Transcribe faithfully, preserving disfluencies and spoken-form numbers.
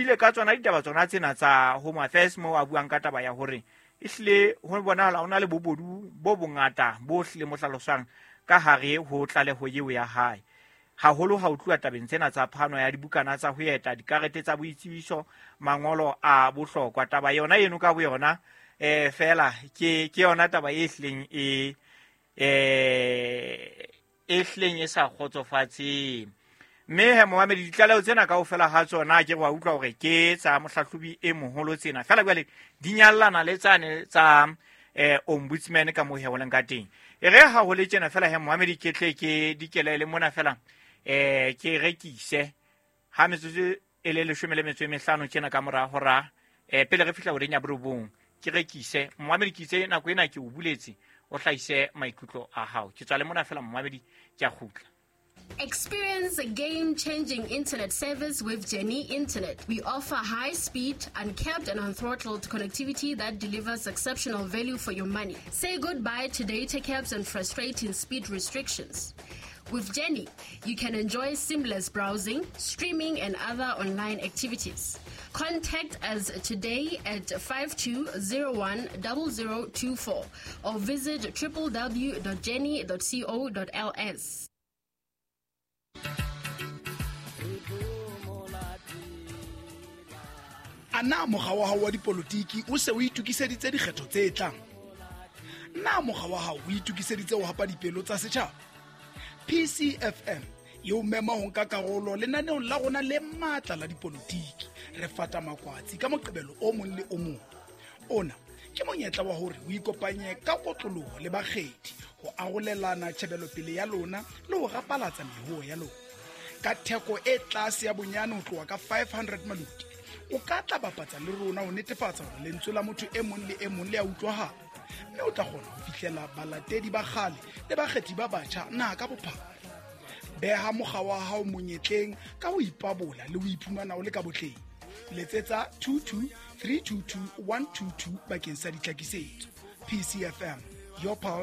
buile ka tsona ditaba tsona tsena tsa Home Affairs mo a buang ka taba ya hore ehlile ho bonahala ho na le bobodu bo bongata bo hlile mo hlalosang ka hare ho tlaleho eo ya hae. Haholo ha o tluwa tabeng tsena tsa phano ya dibukana tsa ho eta, dikarete tsa boitsebiso, mangolo a bohlokwa. Taba yona eno ka boyona eh fela ke ke yona taba e hlileng e eh e hlileng e sa kgotsofatseng. Mme he momamedi, ditlaleho tsena kaofela ha tsona ke wa utlwa hore ke tsa mohlahlobi e moholo tsena. Fela jwale di nyallana le tsane tsa eh ombudsman ka moo he ho leng ka teng. E re ha ho le tjena fela he momamedi, ke tle ke dikelele mona fela eh ke rekise ha metsotso e le leshome le metso e mehlano tjena ka mora hora eh pele re fihla horeng ya borobong, ke rekise. Momamedi, ke itse nako ena ke o buletse o hlahise maikutlo a hao. Ke tswa le mona fela momamedi, ke a kgutla. Experience a game-changing internet service with Jenny Internet. We offer high-speed, uncapped and unthrottled connectivity that delivers exceptional value for your money. Say goodbye to data caps and frustrating speed restrictions. With Jenny, you can enjoy seamless browsing, streaming, and other online activities. Contact us today at five two zero one zero zero two four or visit w w w dot jenny dot co dot l s. A na mokga wa hao wa dipolotiki o se o itokiseditse dikgetho tse tlang? Na mokga wa hao o itokiseditse ho hapa dipelo tsa setjhaba? P C F M e o mema ho nka karolo lenaneong la rona le matla la dipolotiki. Re fata makwatsi ka Moqebelo o mong le o mong. Ona ke monyetla wa hore o ikopanye ka kotloloho le bakgethi ho arolelana tjhebelopele ya lona le ho rapalatsa mehoo ya lona. Ka theko e tlase ya bonyane ho tloha ka five hundred maluti, o ka tla bapatsa le rona ho netefatsa hore lentswe la motho e mong le e mong le a utlwahala, mme o tla kgona ho fihlela balatedi ba kgale le bakgethi ba batjha naha ka bophara. Beha mokga wa hao monyetleng ka ho ipabola le ho iphumana o le ka botleng. Letsetsa two two three two two one two two bakeng sa ditlhakisetso. P C F M, your pulse.